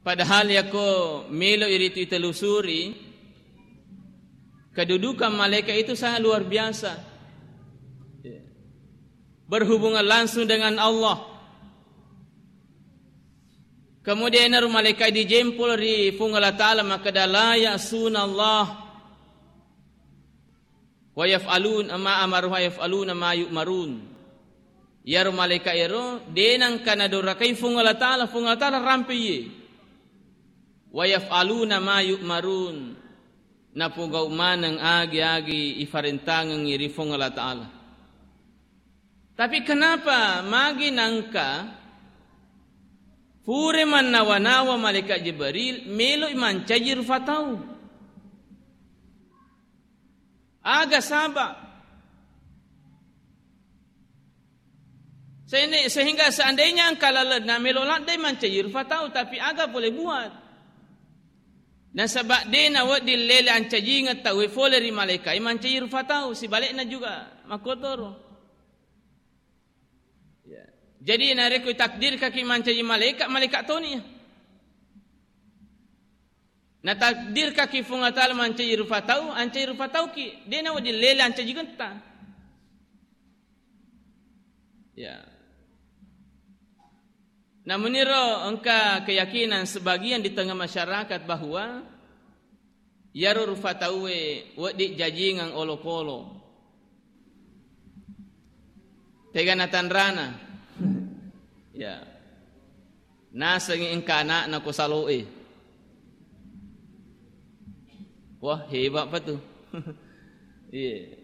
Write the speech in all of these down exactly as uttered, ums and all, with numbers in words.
Padahal yakko melo iritu itelusuri, kedudukan malaikat itu sangat luar biasa. Berhubungan langsung dengan Allah. Kemudian ero malaikat dijempol ri Puang Allah Ta'ala, makkeda, "La ya'suna Allah wa yaf'alun ma amaru wa yaf'aluna ma yu'marun." Iyaro malaikat ero de nengka nadorakai Puang Allah Ta'ala, Puang Allah Ta'ala rampe iye. "Wa yaf'aluna ma yu'marun." Napogau maneng agi-agi ifarentangengngi ri Puang Allah Ta'ala. Tapi kenapa magi nangka pure mannawa-nawa malaikat Jibril meloi mancaji rufa tau? Aga sabab? Sehingga, sehingga seandainya engka lalenna melo laddai mancaji rufa tau, tapi aga boleh buat? Nasaba de nawedding lele ancajingeng tauwe fole ri malaikat mancaji rufa tau, sibalikna juga makkotoro. Ya. Jadi narekko takdirkaki mancaji malaikat, malaikat toni. Natakdirkaki Puang Allah Ta'ala mancaji rufa tau, ancaji rufa tauki, de nawedding lele ancajingetta. Ya. Namuniro engka keyakinan sebagian di tengah masyarakat bahwa iyaro rufa tauwe wedding jajingeng olokolo. Tegana tanrana. Ya. Nasengngi engka anakna ko saloe. Wah, hebat pa tu. Iya.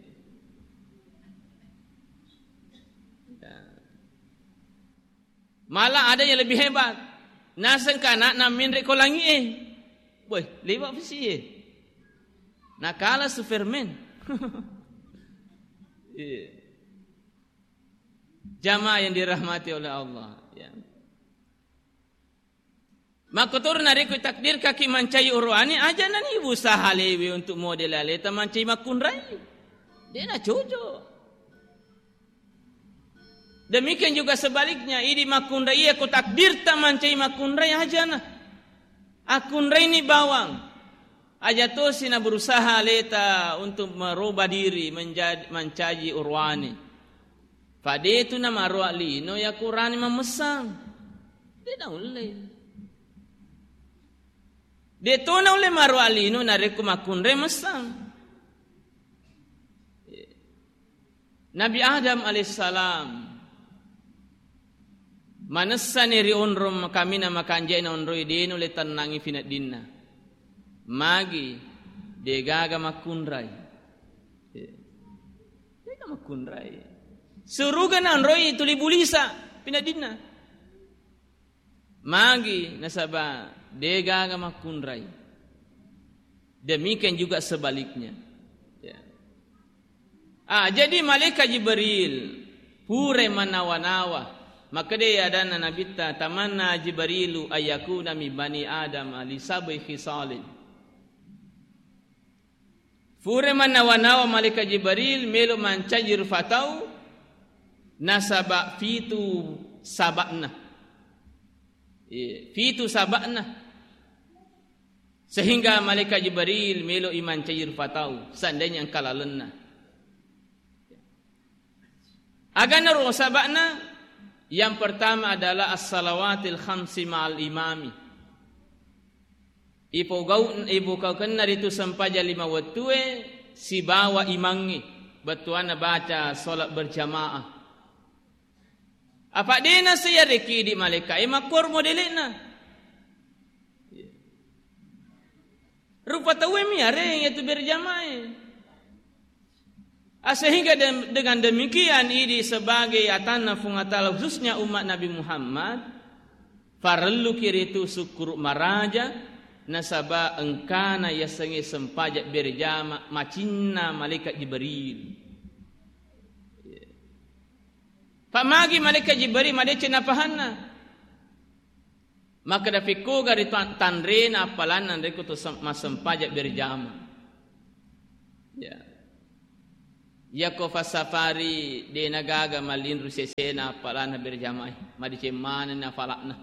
Ya. Malah ada yang lebih hebat. Nasengka anakna menre ko langie. Boy, lewat pesi e. Nakala Superman. Iya. Jamaah yang dirahmati oleh Allah, ya. Makkotoro narekko takdirkaki mancai oroane, aja nani usaha lewe untuk model aleta mancai makkunrai. De na cocok. Demikian juga sebaliknya, idi makkunrai iya ko takdirta mancai makkunrai ajana. Akkunrai ni bawang. Aja tosi na berusaha aleta untuk merubah diri menjadi, mancaji oroane. Fa de tu na maroa lino yakko urane mammessang. De naulle. De to naulle maroa lino narekko makkunrai messang. Nabi Adam alaihissalam manessani ri onrong kaminang makanja'na onroi, de nulle tennangi fineddinna. Magi? Degaga makkunrai. Degaga makkunrai. Suruga na onroi tuli bulisa fineddinna. Magi? Nasaba degaga makkunrai. Demikian juga sebaliknya. Ya. Ah, jadi malaikat Jibril pura manawa-nawa. Makkeda adanna Nabitta, "Tamanna Jibrilu ayyakuna min bani Adam li sab'i khisalin." Pura manawa-nawa malaikat Jibril melo mancaji rufa tau, nasaba fitu saba'na. Iya, fitu saba'na. Sehingga malaikat Jibril melo i mancaji rufa tau, seandainya engka lalenna. Agana ro saba'na, yang pertama adalah as-salawatil khamsi ma'al imami. Ipogau-, ipogaukenna ritu sempajang lima wettue sibawa imangnge, bettuanna baca salat berjamaah. Apa dena seyareki di malaika e makkor modele'na. Rupa tauwe mi areng yatu berjamaah e. Ah, sehingga dem-, dengan demikian, idi sebagai atanna Puang Allah Ta'ala, khususnya umat Nabi Muhammad, farelluki ritu sukkuru maraja, nasaba engkana yasengnge sempajang berjama macinna malaikat Jibril. Fa magi malaikat Jibril madeceng napahanna. Makkeda, "Fekkoga ri tan-, tanrena appalanna rekko to sem-, massempajang berjama." Ya. Yakko fassafari de nagaga mallinru sesena appalanna berjamae, madeceng manenni afalakna.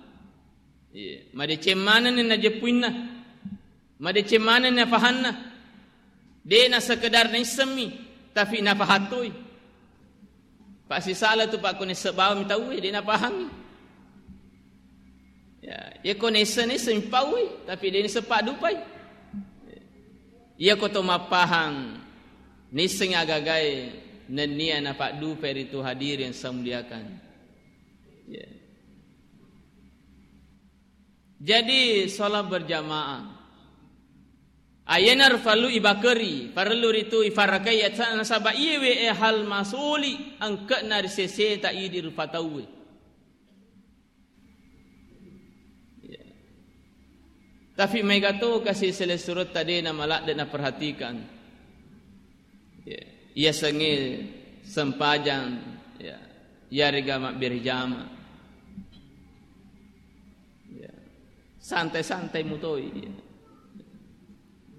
Iya, madeceng manenni najeppuinna, madeceng manenni nafahanna. De' na sekedar naissemmi, tapi nafahattoi. Pasisala tu, Pak, ko nisseng bawang mi tauwe, de' napahangi. Ya, iya ko nisseng, nisseng mi pauwi, tapi de' nisseng paddupai. Iya ko to mappahang, nisseng agagae nennia napaddupai ritu, hadirin saya muliakan. Ya. Jadi, sholat berjamaah. Ayena parellu ibakeri, parellu ritu ifarakai, nasaba iyewe hal masoli engkana ri seseta idi rupa tauwe. Ya. Tapi maega to kasi sele surutta de' na maladde naperhatikan. Ya. Iya sengnge sempajang, ya. Iyarega mabbere jama. Ya. Santai-santai mutoi. Ya.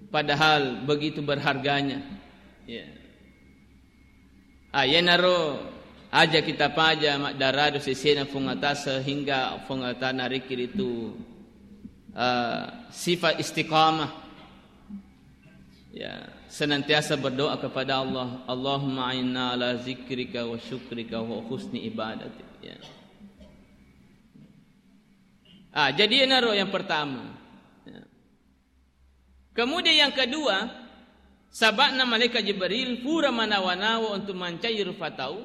Padahal begitu berharganya. Ya. Ah, iyanaro aja kita paja maddaradu sesena Puang Allah Ta'ala sehingga Puang Allah Ta'ala nariki ritu, ah, sifat istiqamah. Ya, senantiasa berdoa kepada Allah, "Allahumma a'inna ala zikrika wa syukrika wa husni ibadatik." Ya. Ah, jadi iyanaro yang pertama. Ya. Kemudian yang kedua, saba'na malaikat Jibril pura manawa-nawa untuk mancaji rupa tau,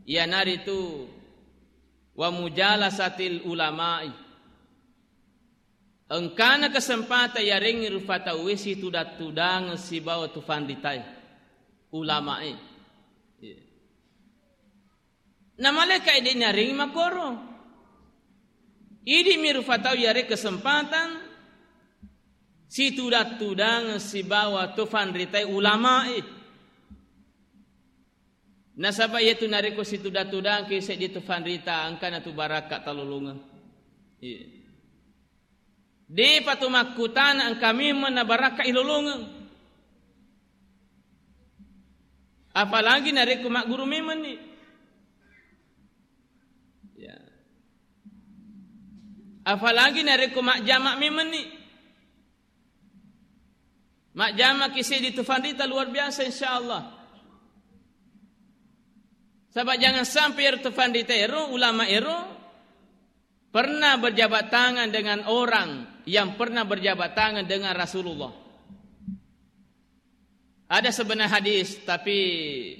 iyanaritu wa mujalasatil ulama'i. Engkana kesempatan yarengngi rupa tauwe situdang-tudangeng sibawa tufanritae, ulamae. Iya. Na malaika de' narengngi makkoro. Idi mi rupa tau yare kesempatan situdang-tudang sibawa tufanritae, ulamae. Nasaba iyatu narekko situdang-tudangki seddi tufanrita, engkana tu barakka talolongeng. Iya. De'pa tu makkutana engka memeng na barakka ilolongeng. Apalagi narekko magguru memenni. Ya. Apalagi narekko majjama memenni. Majjamaki seddi tufanrita luar biasa, insyaallah. Saba jangan sampai ero tufanrita ero, ulama ero, pernah berjabat tangan dengan orang yang pernah berjabat tangan dengan Rasulullah. Ada sebenarnya hadis, tapi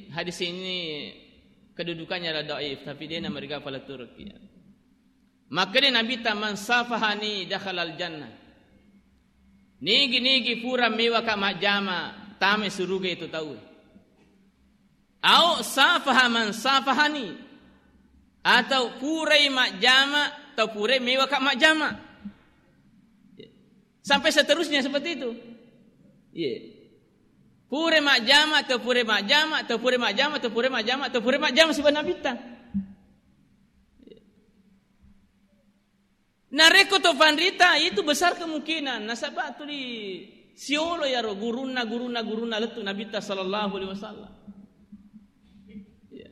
hadis ini kedudukannya adalah dhaif, tapi de' namariga pala turki. Makkeda Nabitta, "Man safahani dakhalal jannah." Nigi-nigi pura mewaka majjama, tama suruga itu tauwe. Au safaha man safahani. Atau purai majjama, atau purai mewaka majjama. Sampai seterusnya seperti itu. Iya. Purai majjama, atau purai majjama, atau purai majjama, atau purai majjama, atau purai majjama sibawa Nabitta. Narekko tufanrita, itu besar kemungkinan nasaba tuli siolo yaro gurunna, gurunna, gurunna lettu Nabitta sallallahu alaihi wasallam. Iya.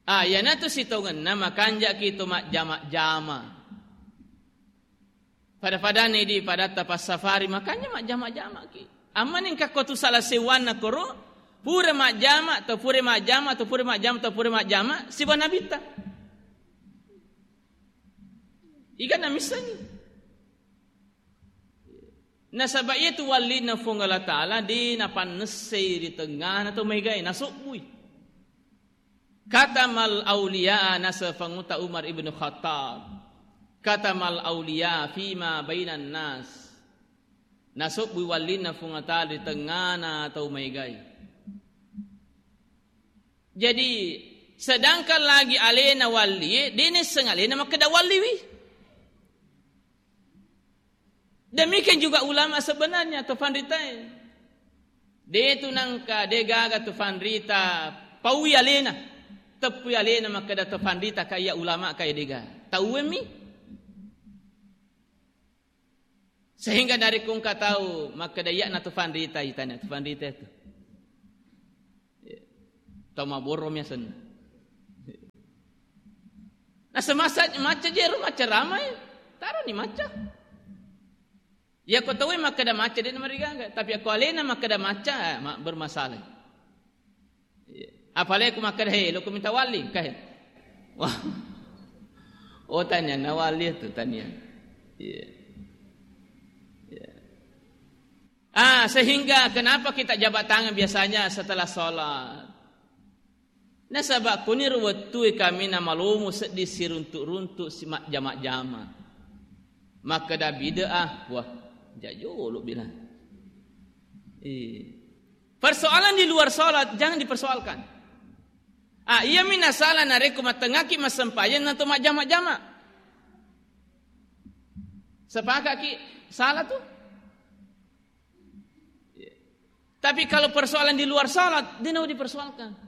Ah, iyanatu sitongenna makanjaki to majjama-jama. Pada-padani di padatta passafari, makanja majjama-jamaki. Amma nengka ko tu sala sewwanna koro, pura majjama, to pura majjama, to pura majjama, to pura majjama, sibawa Nabitta. Iga namissengi. Nasaba iyatu wallinna Fuang Allah Ta'ala de' napannessei ri tengngana tau maegae, nasobbui. Katamal auliya, naseng Panguta Umar ibnu Khattab. Katamal auliya fima bainan nas. Nasobbui wallinna Fuang Allah Ta'ala ri tengngana tau maegae. Jadi, sedangkan lagi alena wallie, de' nisseng alena makkeda walliwi. Demikian juga ulama sebenarnya, tufanritae. De' tu nangka, de' gaga tufanrita paui alena. Teppui alena makkeda tufanrita kaya ulama kaya de' gaga. Tauwemmi. Sehingga dari kungka tau makkeda iyana tufanrita, itana tufanrita itu. Tau mabboro mi asenna. Nah, semasa macca jero, macca ramai. Ni macca. Iya ko tauwe makkeda macca, de' namarigaga. Tapi ako alena makkeda macca, eh, ma-, bermasalah. Iya. Apalagi ko makkeda, "Hei, lo ko minta wali, kae." Wah. Oh, tania na wali itu, tania. Iya. Iya. Ah, sehingga kenapa kita jabat tangan biasanya setelah sholat? Nasaba' kuniro wettue kaminang malomo seddi siruntu'-runtu' si majjama-jama. Makkeda bid'ah, wah, jajolo bilang. Eh. Persoalan di luar sholat jangan dipersoalkan. Ah, iya mina salah narekko mattengaki massempajang nato majjama-jama. Sepakaki salah tuh. Tapi kalau persoalan di luar sholat, de' nau dipersoalkan.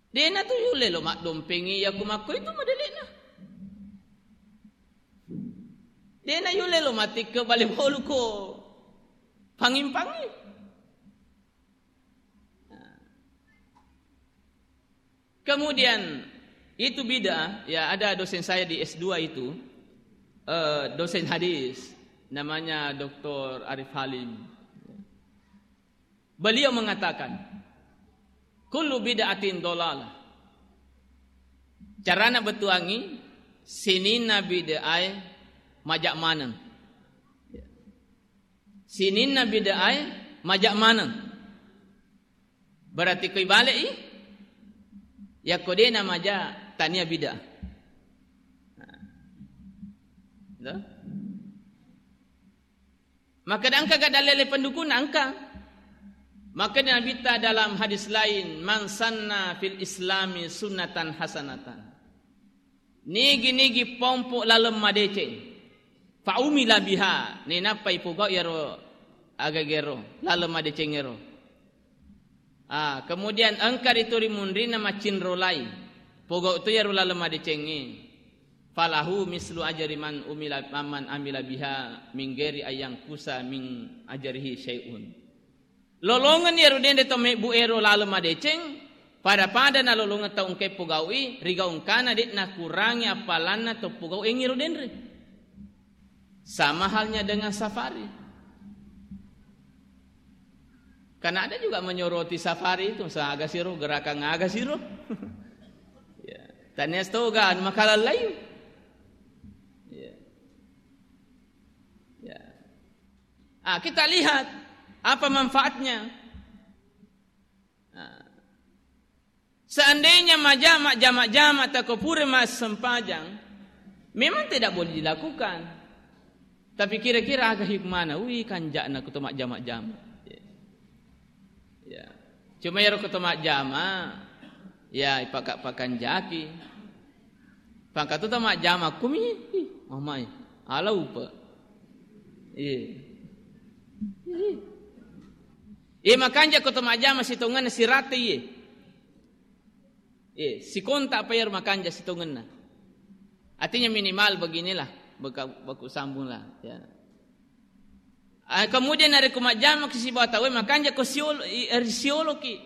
De' natu yulle lo maddompengi iya ku makko itu modele'na. De' na yulle lo matikke bale bolu ko panging-panging. Kemudian itu bid'ah, ya ada dosen saya di S dua itu, eh, dosen hadis, namanya doktor Arif Halim. Beliau mengatakan, "Kullu bid'atin dolalah." Carana bettuangi, sininna bid'ae maja' maneng. Sininna bid'ae maja' maneng. Berarti ko ibale'i, yakko de' namaja' tania bid'ah. Nah. Tuh. Makkeda engka ga dalele pendukung? Engka. Makkeda Nabitta dalam hadis lain, "Man sanna fil islami sunnatan hasanatan." Nigi-nigi pompo laleng madeceng. Fa umila biha, nainappa ipogau iyaro agagero, laleng madecengngero. Ah, kemudian engka ritu ri munrinna macinrolai. Pogau tu iyaro laleng madecengnge. Falahu mislu ajri man umila, man amila biha min ghairi ayyangkusa min ajrihi syai'un. Lolongeng iyaro denre tau mebbu ero laleng madeceng, pada-pada nalolongeng tau engkae pogau'i, rigau engkana de' nakurangi appalanna tau pogau'i ero denre. Sama halnya dengan safari. Kan ada juga menyoroti safari itu, saga siro, gerakan aga siro. Ya. Tania stoga, anu makalallai. Ya. Ya. Ah, kita lihat apa manfaatnya. Ah. Seandainya majama, jama-jama, tako pura massempajang, memang tidak boleh dilakukan. Tapi kira-kira aga hikmana? Wih, kanja'na kuto majama-jama. Ya. Ya. Cuma iyaro kuto majama, ya, ipaka-pakanjaki. Pangkatuta majjama kumi, ih, mamai, ala upa. Iya. Iya, makanja ko to majjama sitongenna sirata iye. Iya, sikontak apa iyaro makanja sitongenna. Artinya minimal beginilah, beka-, baku sambunglah, ya. Ah, kemudian narekko majjamaki sibawa tauwe, makanja ko siolo-, i-, risioloki.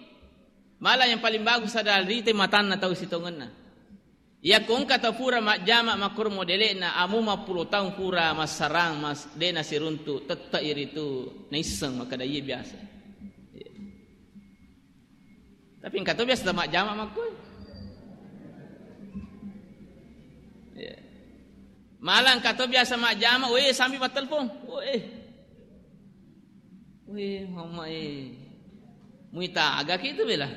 Malah yang paling bagus adalah rite matanna tau sitongenna. Iyako engka tau pura majjama makkoro modele'na, amo mappulo taung pura massarang, mas-, de' nasiruntu, tette'i ritu naisseng makkeda iye biasa. Tapi engka to biasa majjama makkoi. Iya. Malah engka to biasa majjama, weh, sambil mattelpon. Weh. Weh, mama eh. Muita aga ki itu bela.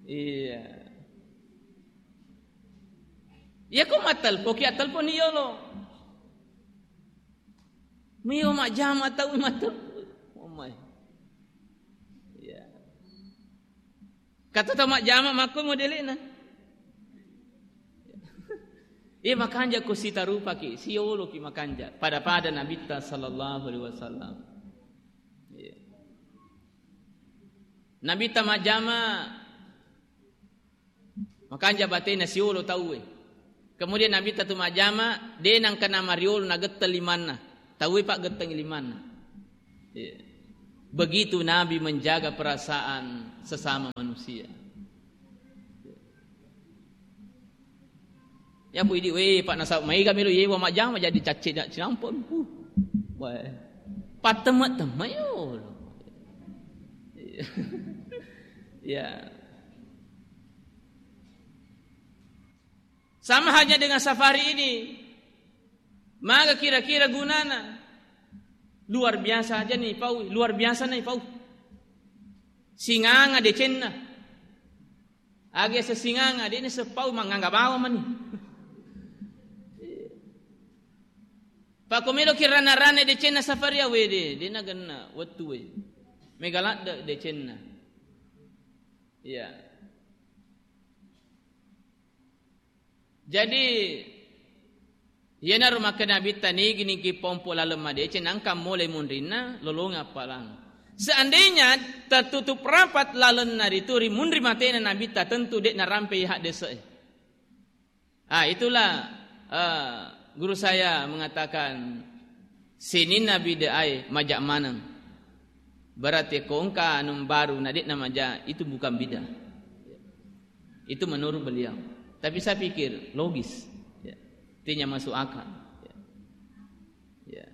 Iya. Iya ko mattelpon ki, attelpon ni yolo. Mio majjama tau mattelpon. Mama eh. Iya. Kata tau majjama makko modele'na. Iya, makanja ko sitarupaki, sioloki makanja. Pada-pada Nabitta sallallahu alaihi wasallam. Iya. Nabitta majjama, makanja batena siolo tauwe. Kemudian Nabitta tu majjama, de' nangka namariolo nagetteng limanna. Tauwe paggettengi limanna. Iya. Begitu Nabi menjaga perasaan sesama manusia. Ya, Bu, idi, weh, Pak, nasaba maega melo yewa majjama jadi cacce na-, cinampe. Uh, weh. Pattemme-temme yolo. Ya. Sama halnya dengan safari ini. Maga kira-kira gunana? Luar biasa aja nih, Pau. Luar biasa nih, Pau. Singanga decenna. Age sesinganga, de'na sepau mangangga bawang mani. Pako melo ki rana-rana decenna safari awe de, de nagenna wettu we. Mega ladde decenna. Iya. Jadi, iyanaro makkeda Nabitta, nigi-nigi pompo laleng madeceng, nangka mole munrinna, lolongi appalang. Seandainya tertutup rapat lalenna ritu ri munri matena Nabitta, tentu de' narampe haddese'e. Ah, itulah, eh, guru saya mengatakan, sininna bid'ah e maja' maneng. Berarti ko engka anu baru na de'na maja', itu bukan bid'ah. Itu menurut beliau. Tapi saya pikir logis. Ya. Artinya masuk akal. Ya. Ya.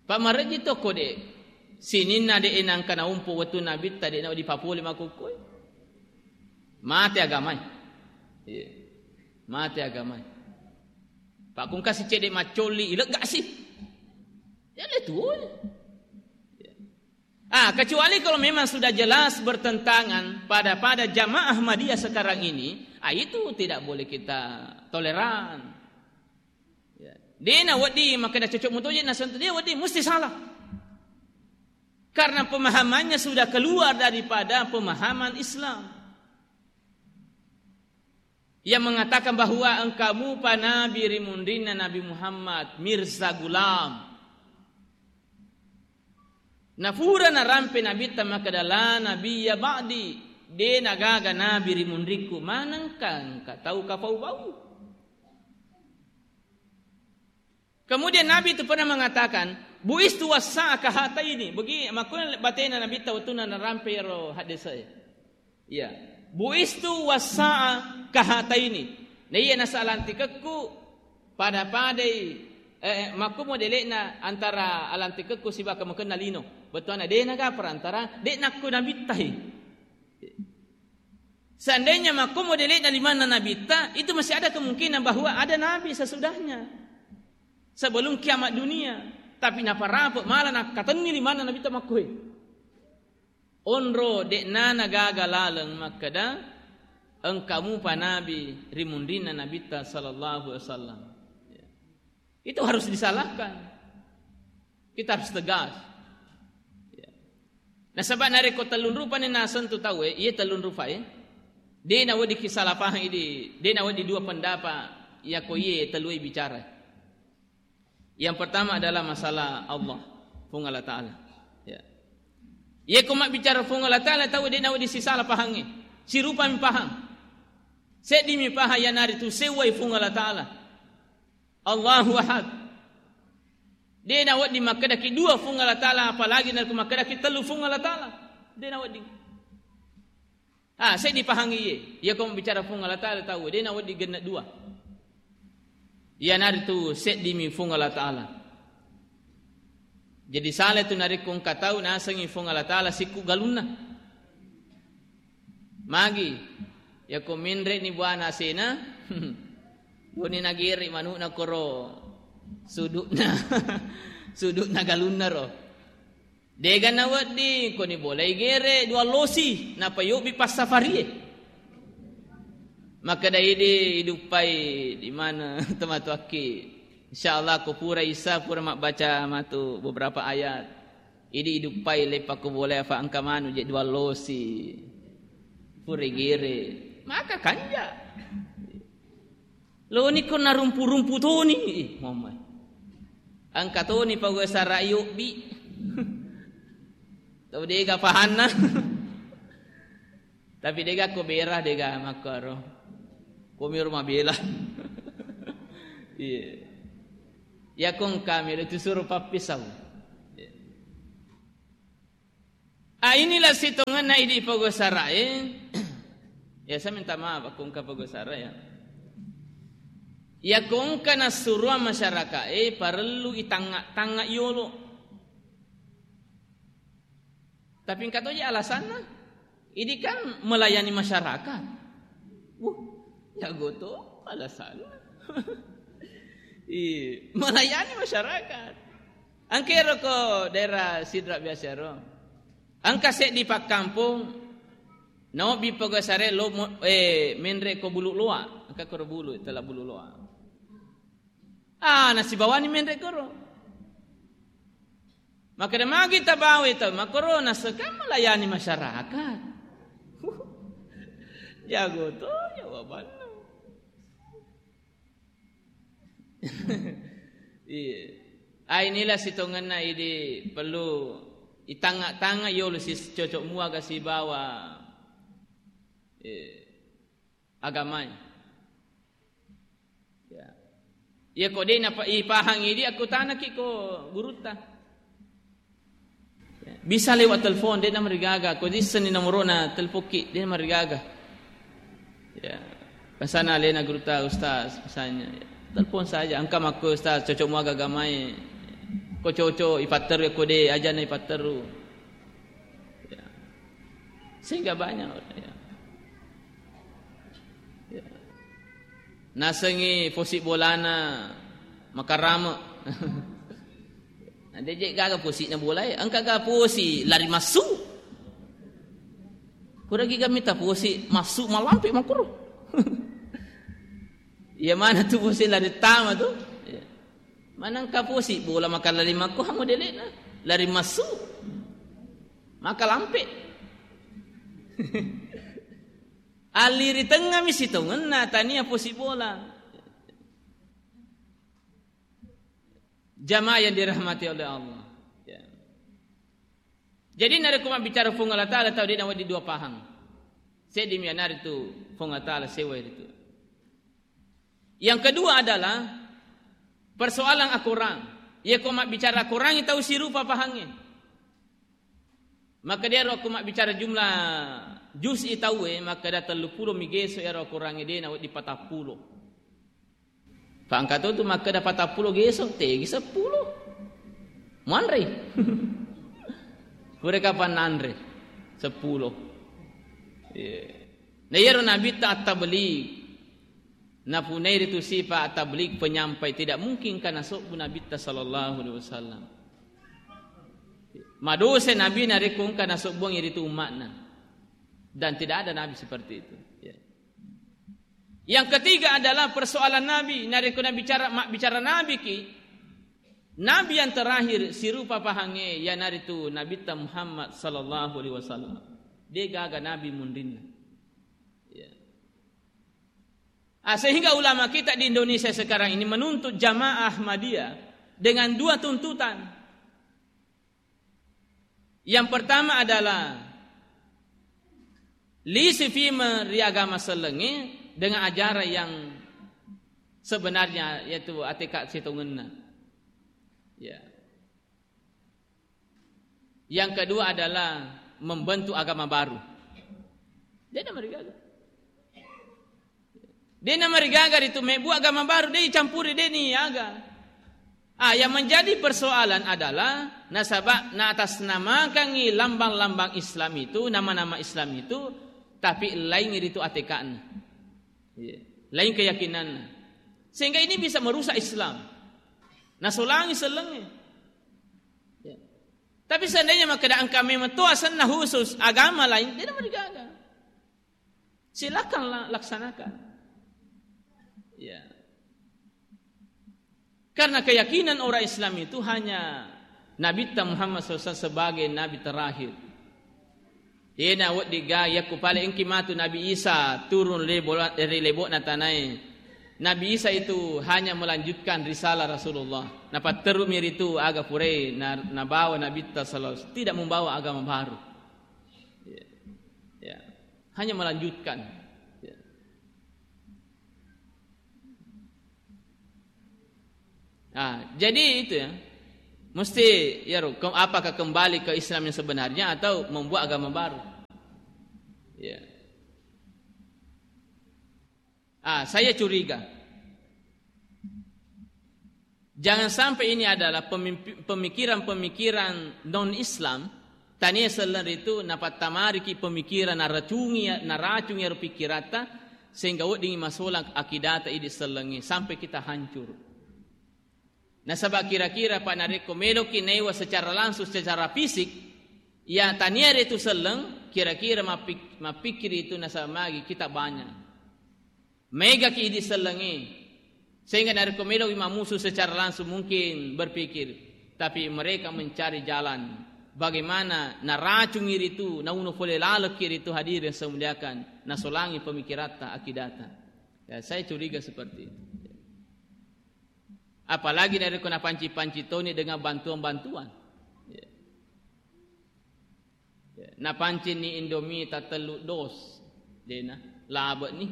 Pamareji tokko de'. Sininna de' nangka naumpo wettu Nabitta de' na dipapole makkukkoe. Mate agamae. Iya. Mate agamae. Pakkungkasi cedde' maccolli, ileggasi. Ya le tuo. Ya. Ah, kecuali kalau memang sudah jelas bertentangan pada, pada jamaah Ahmadiyah sekarang ini, ah, itu tidak boleh kita toleran. Ya. De'na wedding makkeda cocok mutoje nasentuh, de' wedding, mesti salah. Karena pemahamannya sudah keluar daripada pemahaman Islam. Yang mengatakan bahwa engka mupa nabi ri munrinna Nabi Muhammad, Mirza Gulam. Nafura narampe Nabitta makkeda, "La nabiyya ba'di," de' nagaga nabi ri munrikku, manengka engka tau kapau-pau. Kemudian Nabi itu pernah mengatakan, "Bu'istu wassa'a kahataini." Begi, makkuna batena Nabitta wettunna narampe iyaro haddese'e. Iya. "Bu'istu wassa'a kahataini." Na iya nasa alantikekku pada-padai, eh, makkumo dele'na antara alantikekku sibawa kamakenna lino. Bettuanna de' naga perantara, de' nakko Nabitta he. Seandainya makkumo dele'na limanna Nabitta, itu masih ada kemungkinan bahwa ada nabi sesudahnya. Sebelum kiamat dunia. Tapi naparape' mala nakkatenni limanna Nabitta makkoe. Onro de'na nagaga laleng makkeda, engka mupa nabi ri munrinna Nabitta sallallahu alaihi wasallam. Ya. Itu harus disalahkan. Kita harus tegas. Ya. Nasaba narekko tellung rupani nasentu tauwe, iye tellung rupae, de' nawedding kisalapahang idi, de' nawedding dua pendapat, yako iye tellue bicara. Yang pertama adalah masalah Allah, Puang Allah Ta'ala. Ya. Iye ko mabbicara Puang Allah Ta'ala, tau de' nawedding sisala pahangnge. Sirupami pahang. Seddimi pahang, iyanaritu sewwai Puang Allah Ta'ala. Allahu Ahad. De' nawedding makkedaki dua Puang Allah Ta'ala, apalagi narekko makkedaki tellu Puang Allah Ta'ala. De' nawedding. Ah, seddi pahangngi iye. Iya ko mabbicara Puang Allah Ta'ala tau, de' nawedding genne' dua. Iyanaritu seddimi Puang Allah Ta'ala. Jadi sala tu narekko engka tau nasengngi Puang Allah Ta'ala sikku galunna. Magi, yako menre'ni buana asena, doni nagere' manu'na koro sudu'na, sudu'na galunna ro. De'ga nawedding, koni bolai gere' dua losi, nappa yobbi passafarie. Makkeda idi iduppai di mana tomatoakki. Insyaallah ko pura isa, pura mabbaca matu beberapa ayat. Idi iduppai leppa ko bolai, afa engka manu je' dua losi. Pura gere'. Maka kanja. Loni ko narumpu-rumpu toni. Ih, mamma. Engka toni pagau sara' yobbi. Tau de'ga pahanna. Tapi de'ga ko bera, de'ga makkaro. Ko miro mabela. Iya. Ya ko engka miro tu suro pappisau. Iya. Ah, inilah sitongenna idi pogosara'e. Ya, saya minta maaf, aku engka pegosara ya. Ya, ko engka nassuruang masyarakat, eh, parellu itangnga-tangnga yolo. Tapi engka toje alasanna, ini kan melayani masyarakat. Wuh, ya goto alasanna. Iya, melayani masyarakat. Engka ero ko daerah Sidrap biasa ero. Engka seddi pakkampong, naobbi pegosare lo mo-, eh, menre ko Bulu Loa. Engka koro Bulu, tela Bulu Loa. Ah, nasibawani menre koro. Makkeda magi tabawai tau makkoro, naseka melayani masyarakat. Jago to jawabanna. Iya. Ah, inilah sitongenna idi perlu itangnga-tangnga yolo si cocok muaga sibawa, eh, agamae. Ya. Iya ko de napa-, ipahangi idi, akkutanaki ko gurutta. Ya. Bisa lewat telepon, de namarigaga. Ko dissenni nomorona, telepokki, de namarigaga. Ya. Pasana alena gurutta, ustaz, misalnya. Ya. Telepon saja. Engka makko ustaz, cocok muaga agamae. Ko cocok, ipatteru, ko de, ajana ipatteru. Ya. Sehingga banyak orang, ya. Ya. Nasengi posi bolana makarame. Nah, de je gaga posi'na bolae, engka ga posi lari massu. Pura giga mita posi massu malampe makuru. Iya mana tu posi lari tama tu? Ya. Manengka posi bola maka lari makko hamu delena. Lari massu. Maka lampe. Alliri tengngami sitongenna tania posi bola. Jamaah yang dirahmati oleh Allah. Ya. Jadi narekko mabbicara Puang Allah Ta'ala tau de nawedding dua pahang. Seddi mi anaritu Puang Allah Ta'ala sewa itu. Yang kedua adalah persoalan akorang. Iya ko mabbicara akorangi tau sirupa pahangnge. Maka dia ro ko mabbicara jumlah juz'i tauwe, maka da tellu pulo mi geso ero akorangi de nawedding patappulo. Pangkato tu makkeda patappulo geso, tegi seppulo. Muanre. Pura kapan nanre? Seppulo. Iya. Na iyaro Nabitta at-tabligh. Napunai ritu sifa at-tabligh, penyampai, tidak mungkin kana sobbu Nabitta sallallahu alaihi wasallam. Madose Nabi narekko engka nasobbuang iritu umma'na. Dan tidak ada Nabi seperti itu. Ya. Yang ketiga adalah persoalan Nabi. Narekko nabicara, mabbicara Nabi ki, Nabi yang terakhir sirupa pahangnge, iyanaritu Nabitta Muhammad sallallahu alaihi wasallam. De gaga Nabi munrinna. Ya. Ah, sehingga ulama kita di Indonesia sekarang ini menuntut jamaah Ahmadiyah dengan dua tuntutan. Yang pertama adalah lisi fima ri agama sellengnge dengan ajaran yang sebenarnya, yaitu ateka sitongenna. Ya. Yang kedua adalah membentuk agama baru. Dia namarigaga. De namarigaga ritu mebbu agama baru, de icampuri, de niaga. Ah, yang menjadi persoalan adalah nasaba naatasnamakangi lambang-lambang Islam itu, nama-nama Islam itu, tapi lain ritu ateka'na. Iya. Lain keyakinanna. Sehingga ini bisa merusak Islam. Nasolangi sellengnge. Ya. Tapi seandainya makkeda engka memang to asenna khusus agama lain, de namarigaga. Silakan la-, laksanakan. Ya. Karena keyakinan orang Islam itu hanya Nabitta Muhammad sallallahu alaihi wasallam sebagai Nabi terakhir. Yena wedding ga, yakku pale engki matu Nabi Isa turun ri bola-, ri lebo'na tanae. Nabi Isa itu hanya melanjutkan risalah Rasulullah. Napatterumi ritu aga purai na-, nabawa Nabitta sallallahu alaihi wasallam. Tidak membawa agama baru. Ya. Ya. Hanya melanjutkan. Ya. Nah, jadi itu ya. Mesti ya, ke-, apakah kembali ke Islam yang sebenarnya atau membuat agama baru? Ya. Ah, saya curiga. Jangan sampai ini adalah pemimpi-, pemikiran-pemikiran non-Islam, tania selleng ritu napattammariki pemikiran, naracungi, naracungi ero pikkiratta, sehingga weddingngi masolang akidata idi sellengnge, sampai kita hancur. Nasaba kira-kira, Pak, narekko meloki naiwa secara langsung, secara fisik, ya tania ritu selleng, kira-kira mappik-, mappikkiri itu nasaba magi kita banyak. Megaki idi sellengnge. Sehingga narekko meloki mammusu secara langsung mungkin berpikir, tapi mereka mencari jalan bagaimana naracungi ritu, nauno pole lalekki ritu, hadirin yang saya muliakan, nasolangi pemikiratta, akidata. Ya, saya curiga seperti itu. Apalagi narekko napanci-panci toni dengan bantuan-bantuan. Ya. Ya, napancinni Indomie tatellu dos, dena, labe'ni.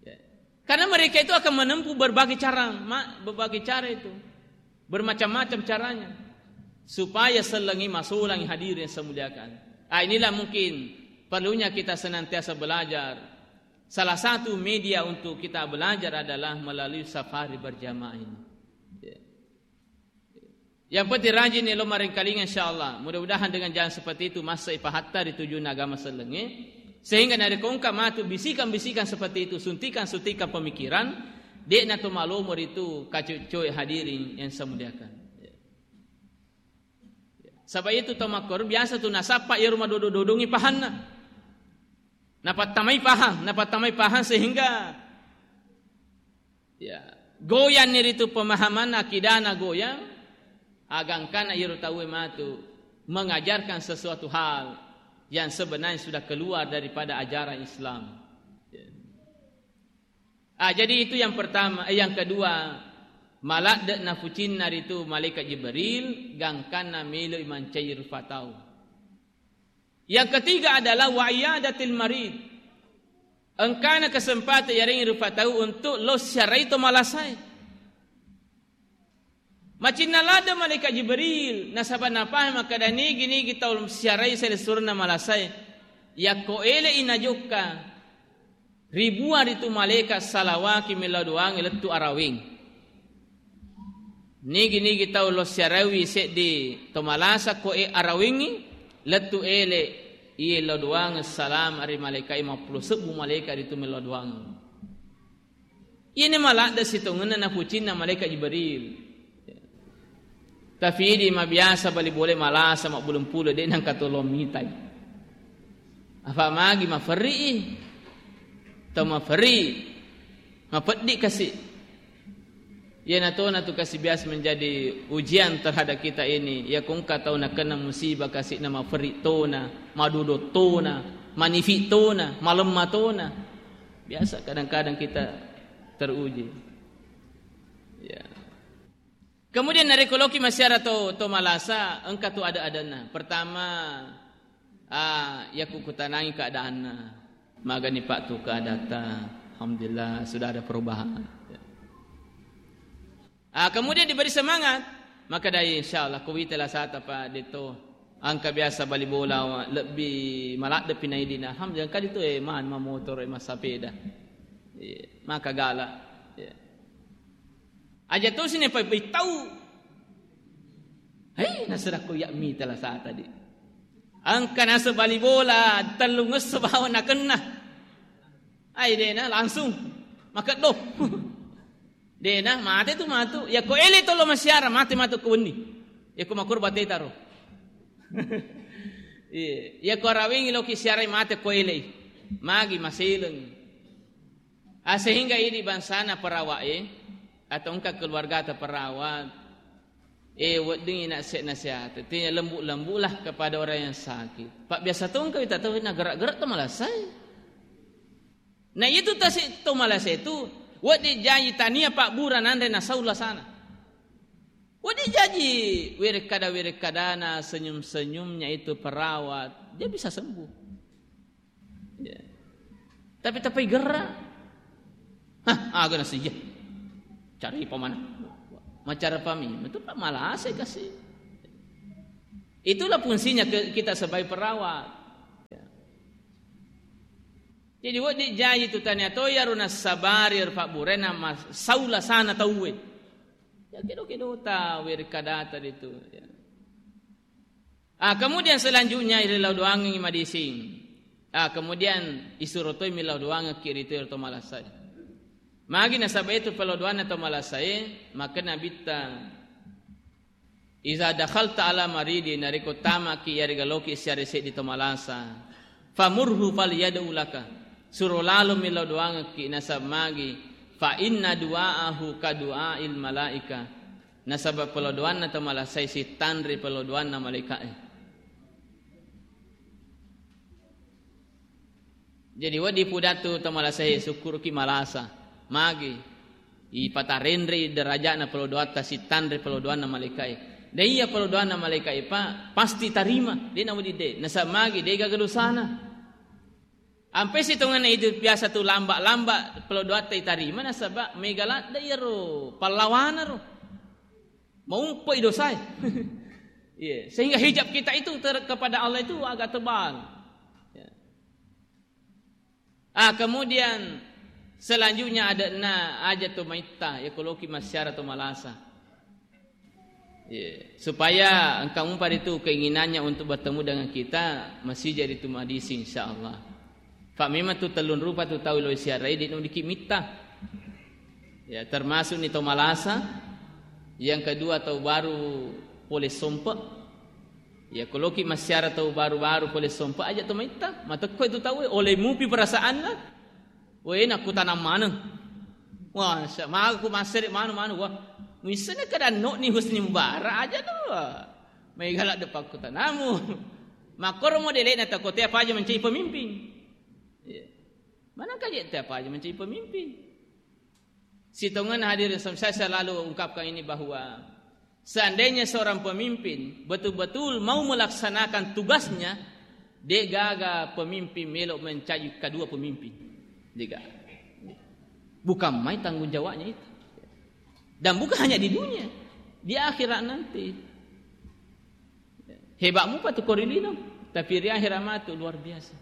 Ya. Karena mereka itu akan menempuh berbagai cara, ma-, berbagai cara itu. Bermacam-macam caranya. Supaya sellengngi masolangi, hadirin yang saya muliakan. Ah, inilah mungkin perlunya kita senantiasa belajar. Salah satu media untuk kita belajar adalah melalui safari berjamaah ini. Ya. Yang penting rajin elo maringkalinga, insyaallah. Mudah-mudahan dengan jalan seperti itu massai pahatta ri tujunna agama sellengnge. Sehingga narekko engka matu bisikan-bisikan seperti itu, suntikan-suntikan pemikiran, de'na to malomo ritu kacoe-coe, hadirin yang saya muliakan. Saba itu tau makkoro biasa tu nasappa iyaro madodo-dodongi pahanna. Napattamai pahang, napattamai pahang sehingga, ya, goyanni ritu pemahaman akidana goyang, agangkana iyaro tauwe matu mengajarkan sesuatu hal yang sebenarnya sudah keluar daripada ajaran Islam. Ya. Ah, jadi itu yang pertama, eh, yang kedua, maladde nafucinna ritu malaikat Jibril, gangkanna meloi mancaji rufa tau. Yang ketiga adalah wa iyadatil marid. Engkana kesempatan yarengngi rufa tau untuk lo siarai to malasae. Macinna ladde malaikat Jibril, nasaba napahang makkeda nigi-nigi tau siarai selessurna malasae. Yakko ele'i najokka, ribuang ritu malaikat salawaki mellau doangnge lettu araweng. Nigi-nigi tau lo siaraiwi seddi to malasa ko e arawengngi, lettu ele iye lao doang salama ri malaikat, mappulo sebbu malaikat ritu mellau doang. Iyene maladde sitongenna napucinna malaikat Jibril. Tapi idi mabiasa bali bole malasa mabbulung pulo, de nangka tolong mitai. Apa magi maferri i? Tau maferri, mapeddi kasi. Iyana tona tu kasi biasa menjadi ujian terhadap kita ini. Ya kongka tau nakenna musibah kasi na maferri tona, madodo tona, manifi tona, malemma tona. Biasa kadang-kadang kita teruji. Ya. Kemudian narekko loki massiara to, to malasa, engka tu ada-adanna. Pertama, ah, yakku kutanangi keadaanna. Magani Pak tu keadatta. Alhamdulillah, sudah ada perubahan. Ah, kemudian diberi semangat. Maka dari insyaallah, kuwita lasata Pak Deto. Engka biasa bali bola, lebbi maladde pinaidina. Alhamdulillah, engka ditu, eh, man, mamotoro, eh, massapeda. Iya, maka gala. Iya. Aja tosi ne pa-, tau. Hei, nasera ko ya mita lasata di. Engka naseng bali bola, tellung esso bawang nakenna. Ai dena langsung makeddo. Dena mate tu matu. Ya ko ele tolo masiara, mate matu ko wenni. Ya ko makurba tetaro. Iya, ya ko arawengi loki siarai mate ko ele. Magi maseleng. Ah, sehingga idi bangsana perawat e, atau engka keluargata perawat, eh, wedding ina se-, nasihati. Artinya lembut-lembutlah kepada orang yang sakit. Pak biasa tu engka wita tau na gerak-gerak tu malasai. Nah, itu tasi tu malasai tu, wedding jaji tania Pak Bura nanre na saula sana. Wedding jaji werekkada-werekkadana, senyum-senyumnya itu perawat, dia bisa sembuh. Ya. Tapi tapai gerra. Hah, aga nasi iya. Cari pamana. Macara pami, itu Pak malasai kasi. Itulah fungsinya ke-, kita sebagai perawat. Ya. Jadi, wedding jaji tu tania to iyaro nassabari ero pabburena mas-, sau lasana tauwe. Ya, kedo-kedo ta weri kadata ditu, ya. Ah, kemudian selanjutnya irillau doangengngi madising. Ah, kemudian isuro toi millau doangekki ritu ero to malasae. Magi nasaba itu pellau doanna to malasae, maka Nabitta, "Iza dakhalta ala maridi," narekko tamaki iyarega loki siare seddi to malasa, "famurhu falyad'u laka." Suro lalo millau doangekki, nasaba magi, "Fa inna du'aahu ka du'ail malaika." Nasaba pellau doanna to malasai sittanre pellau doanna malaika'e. Jadi, wedding pudatu to malasai sukkuruki malasa. Magi ipatarenrei derajatna pellau doatta sittanre pellau doanna malaika'e. De iya pellau doanna malaika'e pa, pasti tarima. De na wedding de. Nasaba magi de gaga dosana. Ampe sitongenna itu biasa tu lamba-lamba pellau doatta itarima nasaba mega ladde iyaro pallawana ro. Maumpoi dosae. Iya, sehingga hijab kita itu ter-, kepada Allah itu agak tebal. Ya. Ah, kemudian selanjutnya ada na aja to maitta, ya koloki masyara to malasa. Iya. Supaya engka mupa ritu keinginannya untuk bertemu dengan kita, masih jadi tu madising, insyaallah. Fa memang tu tellung rupa tu tau lo siarai di nudiki mitta. Ya, termasuk ni to malasa, yang kedua tau baru pole sompe. Ya, koloki masyara tau baru-baru pole sompe aja to maitta, matekko itu tau oleh mupi perasaanna. Wé, nakkutanang maneng. Wah, sa-, maga ku massere manu-manu, wah. Muissenna kada anno'ni Husni Mubarak aja tu. Maega ladde pakkutanamu. Makkoro modele'na takote apa aja menjadi pemimpin. Iya. Mana kaje te apa aja menjadi pemimpin. Sitongenna hadirin, saya selalu ungkapkan ini bahwa seandainya seorang pemimpin betul-betul mau melaksanakan tugasnya, de gaga pemimpin melo mencaji kedua pemimpin. De gaga. Bukan main tanggung jawabnya itu. Dan bukan hanya di dunia, di akhirat nanti. Hebat mupa tu kori lino, tapi ri akhirat matu luar biasa.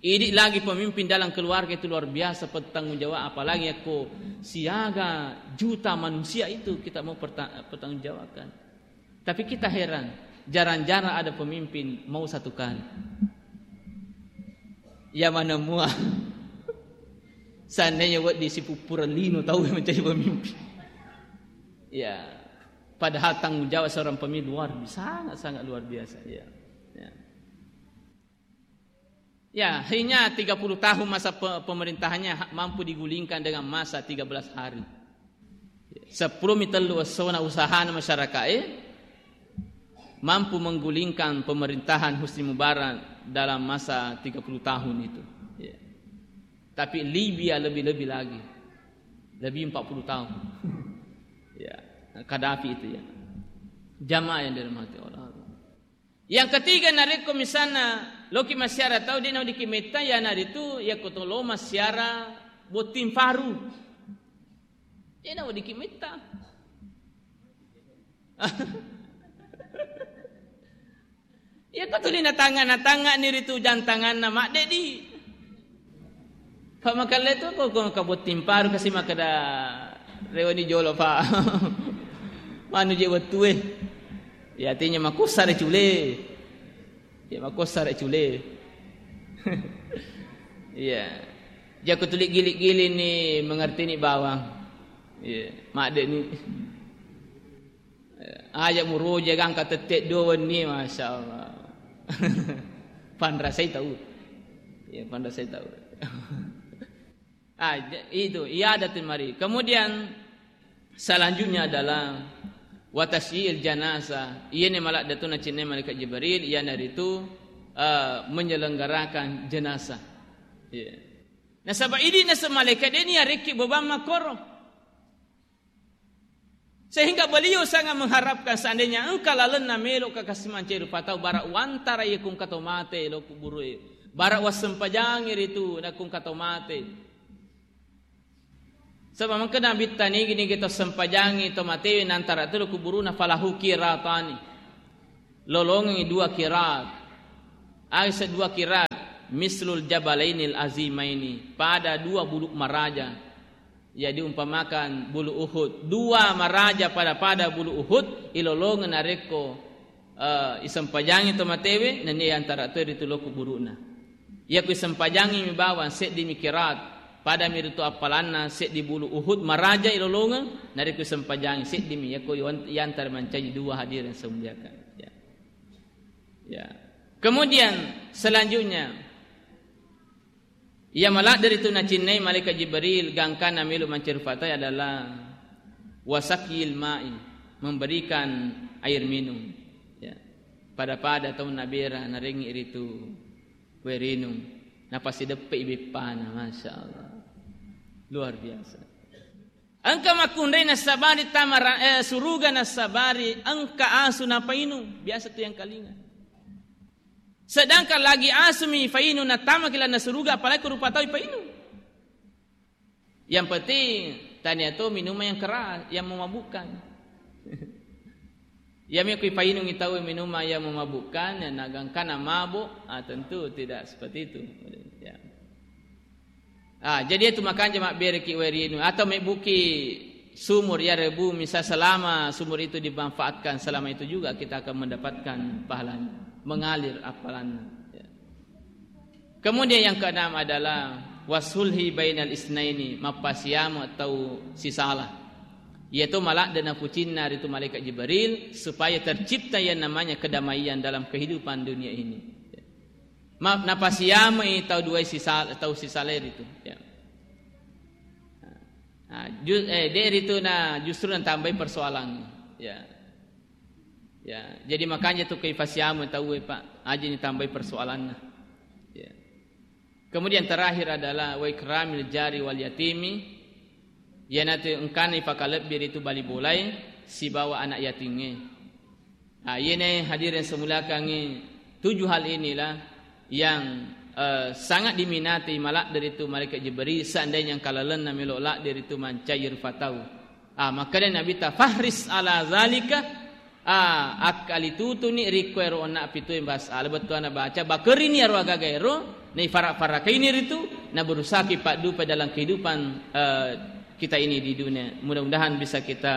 Idi lagi pemimpin dalam keluarga itu luar biasa bertanggung jawab, apalagi yakko siaga juta manusia itu kita mau perta-, pertanggungjawabkan. Tapi kita heran, jarang-jarang ada pemimpin mau satu kali. Ya mana mua. Seandainya wedding sipuppureng lino tau menjadi pemimpin. Ya. Padahal tanggung jawab seorang pemimpin luar, sangat-sangat luar biasa. Ya. Ya. Ya, hanya tiga puluh tahun masa pe-, pemerintahannya ha-, mampu digulingkan dengan masa tiga belas hari. Seppulo mi tellu essona usahana masyarakae mampu menggulingkan pemerintahan Husni Mubarak dalam masa tiga puluh tahun itu. Ya. Tapi Libya lebih-lebih lagi. Lebih empat puluh tahun. Ya, Gaddafi itu ya. Jamaah yang dirahmati Allah. Yang ketiga, narekko misalna loki masyara tau, de naweddikki metta, iyanaritu yakko to lo masyara botting faru. De naweddikki metta. Yakko tuli natangnga-, natangnga ni ritu jang tanganna, maddedi. Fa makelle tu ko, ko kabotting paru kasi makkeda reweni jolo, Pak. Manu je wettue. Ya, artinya makussa re cule. Ya, makussa re cule. Iya. Jako tuli gilik-gilik ni mengerti ni bawang. Iya, madde ni. Aja muroja gangka tette dua wenni, Masya Allah. Panrasai tau. Ya, panrasai tau. Ah, j-, itu, iadatul marid. Kemudian selanjutnya adalah wa tasyi'il janazah. Iyani maladde tu nacinnai malaikat Jibril, iyanaritu, eh, menyelenggarakan jenazah. Iya. Nasaba idi naseng malaikat de ni arekki beban makkoro. Sehingga beliau sangat mengharapkan seandainya engka lalenna melo ka kasi mancai rupa tau, bara wantara iya kung kato mate lo kuburu e. Bara wassempajangi ritu na kung kato mate. Saba mengka Nabitta nigi-nigi to sempajangi to matewe nantara tu lo kuburuna falahu kiratani. Lolongengi dua kirat. Aga ise dua kirat. mislul jabalainil azimaini, pada dua bulu maraja. Jadi umpamakan bulu Uhud, dua maraja pada-pada bulu Uhud, ilolongeng narekko, eh, isempajangi to matewe, nennia yantara to ritu lo kuburu'na. Iyako isempajangi mi bawang seddi mi kirat, pada mi ritu appalanna seddi bulu Uhud maraja ilolongeng, narekko isempajangi seddi mi, iyako iwan-, yantara mancaji dua hadirin semuliakan. Ya. Ya. Kemudian selanjutnya, iya maladde ritu nacinnai malaikat Jibril gangkanna melo mancaji rufa tau adalah wasakil ma'i, memberikan air minum. Ya. Pada-pada tau nabera narengngi ritu wae rinung, napasideppe beppana, Masya Allah. Luar biasa. Engka makkunrai nassabari tama ra-, eh, suruga nassabari engka asu napainung, biasa tu yang kalinga. Sedangkan lagi asu mi fainung natama ki lalenna suruga, apalagi ko rupa tau ipainung. Yang penting tania to minuman yang keras, yang memabukkan. Ya, mi kui painungi tau minuman yang memabukkan, ya, nagangkana mabuk, ah, tentu tidak seperti itu. Ya. Ah, jadi itu makanya mabbereki wae rinung atau mebbuki sumur ya rebu, misal selama sumur itu dimanfaatkan selama itu juga kita akan mendapatkan pahalanya, mengalir appalanna. Ya. Kemudian yang keenam adalah wasulhi bainal isnaini, mappasiama tau sisala. Iyatu maladde napucinna ritu malaikat Jibril supaya tercipta yang namanya kedamaian dalam kehidupan dunia ini. Ma-, napasiamai tau duai sisal-, tau sisala ritu. Ya. Nah, ju-, eh, de ritu na justru natambai persoalan. Ya. Ya, jadi makanya tu kifasiama tau e, Pak, aja ni tambai persoalanna. Ya. Kemudian terakhir adalah wa ikramil jari wal yatimi, iyanatu engkana ipakalebbi ritu bali bolae sibawa anak yatingnge. Ah, iyene hadirin semuliakangi, tujuh hal inilah yang, eh, sangat diminati maladde ritu malaikat Jibril, seandainya engka lalenna melo ladde ritu mancaji rupa tau. Ah, makkeda Nabitta, "Fahris ala zalika." Ah, akkalitutuni rikko ero onna pitue bahasa ala bettuanna baca, bakerini ero agaga ero, naifara-farakaini ritu, na berusaki paddupa dalam kehidupan, eh, kita ini di dunia. Mudah-mudahan bisa kita,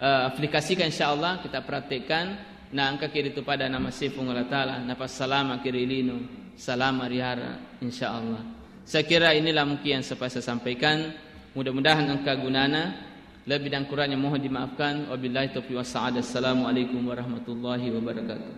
eh, aplikasikan, insyaallah, kita praktekkan. Na engkaki ritu pada nama Puang Allah Taala, napassalamaki ri lino, salama ri hara, insyaallah. Saya kira inilah mungkin yang sempat saya sampaikan. Mudah-mudahan engka gunana. Lebih dan kurangnya mohon dimaafkan. Wabillahi taufiq was sa'adah. Assalamualaikum warahmatullahi wabarakatuh.